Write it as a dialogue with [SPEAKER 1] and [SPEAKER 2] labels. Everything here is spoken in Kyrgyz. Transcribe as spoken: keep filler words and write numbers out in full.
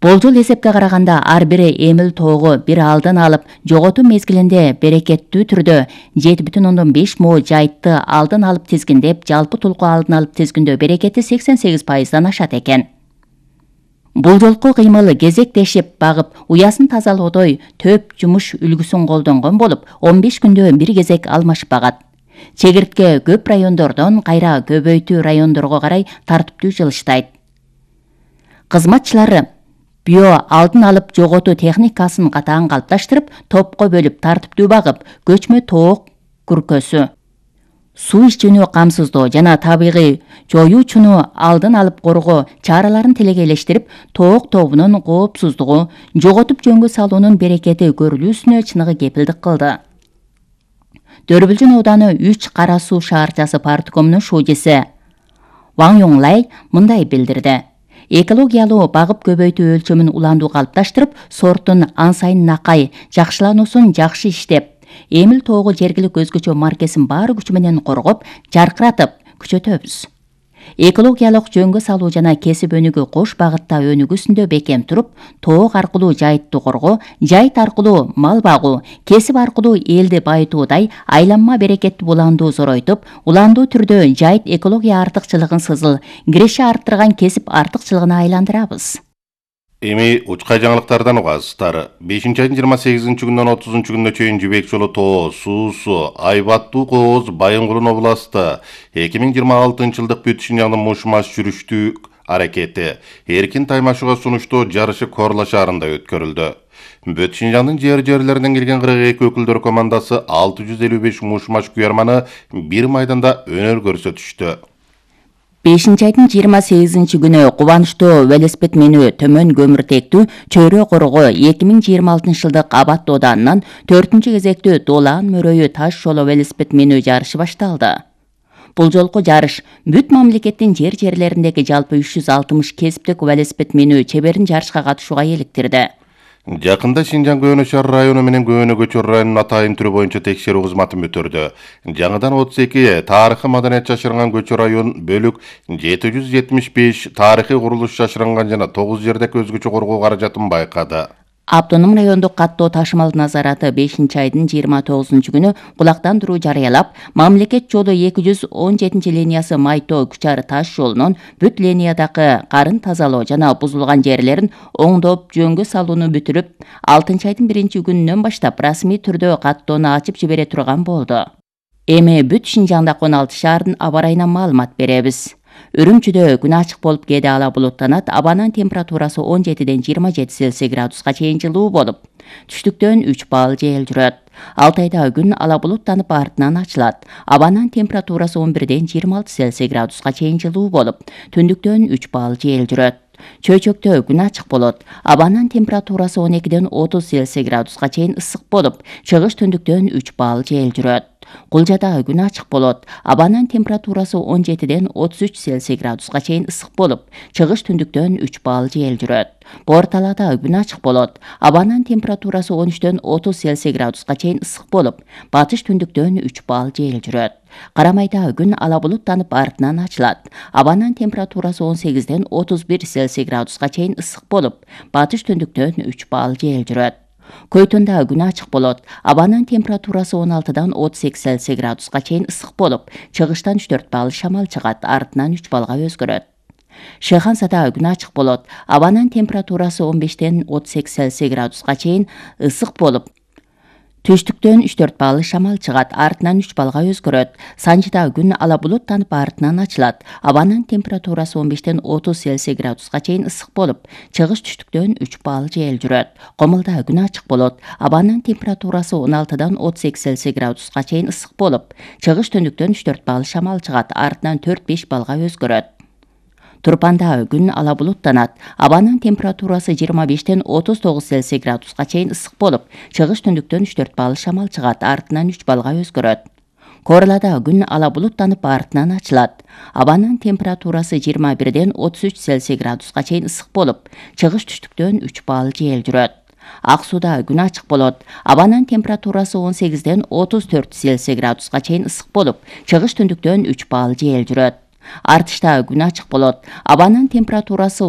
[SPEAKER 1] Болжол эсепке караганда ар бир эмил тоого бир алдын алып жоготуу мезгилинде берекеттүү түрдө жети бүтүн ондон беш мо жайтты алдын алып тизгиндеп, жалпы тулку алдын алып тизгиндөө берекети сексен сегиз пайыздан ашат экен. Бул жолку кыймыл кезектешип багып, уясын тазалоодой төп жумуш үлгүсүн колдонгон болуп, он беш күндө бир кезек алмашпагат. Чегиртке көп райондордон кайра көбөйтүү райондорго карай тартиптүү жылыштайт. Кызматчылары био алдын алып жоготуу техникасын катаан калыпташтырып, топко бөлүп тартиптүү багып, көчмө тоок күркөсү, суу ичүүнү камсыздоо жана табигый жоюучуну алдын алып коргоо чараларын тилегейлештирип, тоок тобунун коопсуздугу, жоготуп жөнгө салуунун берекети көрүлүүсүнө чыныгы кепилдик кылды. Дөрбүлжүн ооданы үч Кара суу шаарчасы парткомунун шужеси Ван Юнглай мындай билдирди. Экологиялуу багып көбөйтүү өлчөмүн уландуу калыпташтырып, сорттун ан сайын накай жакшылануусун жакшы иштеп, эмил тоого жергилик өзгөчө маркесин баары күчү менен коргоп, жаркыратып күчөтөбүз. Экологиялык жөнгө салуу жана кесип өнүгүү кош багытта өнүгүүсүндө бекем туруп, тоок аркылуу жайтты коргоо, жайт аркылуу мал багуу, кесип аркылуу элди байытуудай айланма берекеттүү уландуу зоройтуп, уландуу түрдө жайт экология артыкчылыгын сызыл, киреше арттырган кесип артыкчылыгына айландырабыз.
[SPEAKER 2] Эми учкай жаңылыктардан угасыздар. бешинчи айдын жыйырма сегизинчи күнүнөн отузунчу күнүнө чейин Жибек жолу тоо, суусу, Айбаттуу кооз, Байынгулун областы эки миң жыйырма алтынчы жылдык бүт Шинжаңдын муш-маш жүрүштүү аракети эркин таймашууга сунуштоо жарышы Корла шаарында өткөрүлдү. Бүт Шинжаңдын жер-жерлеринен келген кырк эки өкүлдөр командасы алты жүз элүү беш муш-маш күйөрманы бир майданда өнөр көрсөтүштү.
[SPEAKER 1] бешинчи айдын жыйырма сегизинчи күнү кубанычтуу велосипед менүү төмөн көмүртектүү Чөйрө корго эки миң жыйырма алтынчы жылдык абат дооданынан төртүнчү кезектүү Долаан мөрөйү таш жолу велосипед менүү жарышы башталды. Бул жолку жарыш бүт мамлекеттин жер-жерлериндеги жалпы үч жүз алтымыш кесиптик велосипед менүү чеберин жарышка катышууга иликтирди.
[SPEAKER 2] Жакында Шинжаң Көөнө шаар району менен Көөнө көчөр районунун атайын түрү боюнча текшерүү кызматын бүтүрдү. Жаңыдан отуз эки тарыхый маданият жашырынган көчө район бөлүк жети жүз жетимиш беш тарыхый курулуш жашырынган жана тогуз жердеги өзгөчө коргоо каражатын байкады.
[SPEAKER 1] Автоном райондук каттоо ташымал назараты бешинчи айдын жыйырма тогузунчу күнү кулактандыруу жарыялап, мамлекет жолу эки жүз он жетинчи линиясы Майтоо Күчар таш жолунун бүт линиядагы карын тазалоо жана бузулган жерлерин оңдоп жөнгө салууну бүтүрүп, алтынчы айдын биринчи күнүнөн баштап расмий түрдө каттоону ачып жибере турган болду. Эми бүт Шинжаңдагы он алты шаардын аба ырайынан маалымат беребиз. Үрүмчүдө күн ачык болуп кээде ала булуттанат, абанын температурасы он жетиден жыйырма жети Цельсий градуска чейин жылуу болуп, түштүктөн үч балл жел жүрөт. Алтайда күн ала булуттанып артынан ачылат. Абанын температурасы он бирден жыйырма алты Цельсий градуска чейин жылуу болуп, түндүктөн үч балл жел жүрөт. Чөйчөктө күн ачык болот. Абанын температурасы он экиден отуз Цельсий градуска чейин ысык болуп, чыгыш түндүктөн үч балл жел жүрөт. Кулжада күн ачык болот. Абанын температурасы он жетиден отуз үч Цельсий градуска чейин ысык болуп, чыгыш түндүктөн үч балл жел жүрөт. Борталада күн ачык болот. Абанын температурасы он үчтөн отуз Цельсий градуска чейин ысык болуп, батыш түндүктөн үч балл жел жүрөт. Карамайда күн ала булуттанып артынан ачылат. Абанын температурасы он сегизден отуз бир Цельсий градуска чейин ысык болуп, батыш түндүктөн үч балл жел жүрөт. Көйтөндө күн ачык болот. Абанын температурасы он алтыдан отуз эки Цельсий градуска чейин ысык болуп, чыгыштан үч төрт балл шамал чыгат, артынан үч баллга өзгөрөт. Шыхансада күн ачык болот. Абанын температурасы он бештен отуз эки Цельсий градуска чейин ысык болуп, түштүктөн үч төрт балл шамал чыгат, артынан үч баллга өзгөрөт. Санжыда күн ала булуттанып артынан ачылат. Абанын температурасы он бештен отуз Цельсий градуска чейин ысык болуп, чыгыш түштүктөн үч балл жел жүрөт. Комулда күн ачык болот. Абанын температурасы он алтыдан отуз эки Цельсий градуска чейин ысык болуп, чыгыш түндүктөн үч төрт балл шамал чыгат, артынан төрт беш баллга өзгөрөт. Турпанда күн ала булуттанат. Абанын температурасы жыйырма бештен отуз тогуз Цельсий градуска чейин ысык болуп, чыгыш түндүктөн үч төрт балл шамал чыгат, артынан үч баллга өзгөрөт. Корлада күн ала булуттанып артынан ачылат. Абанын температурасы жыйырма бирден отуз үч Цельсий градуска чейин ысык болуп, чыгыш түштүктөн үч балл жел жүрөт. Ак сууда күн ачык болот. Абанын температурасы он сегизден отуз төрт Цельсий градуска чейин ысык болуп, чыгыш түндүктөн үч балл жел жүрөт. Артышта күн ачык болот. Абанын температурасы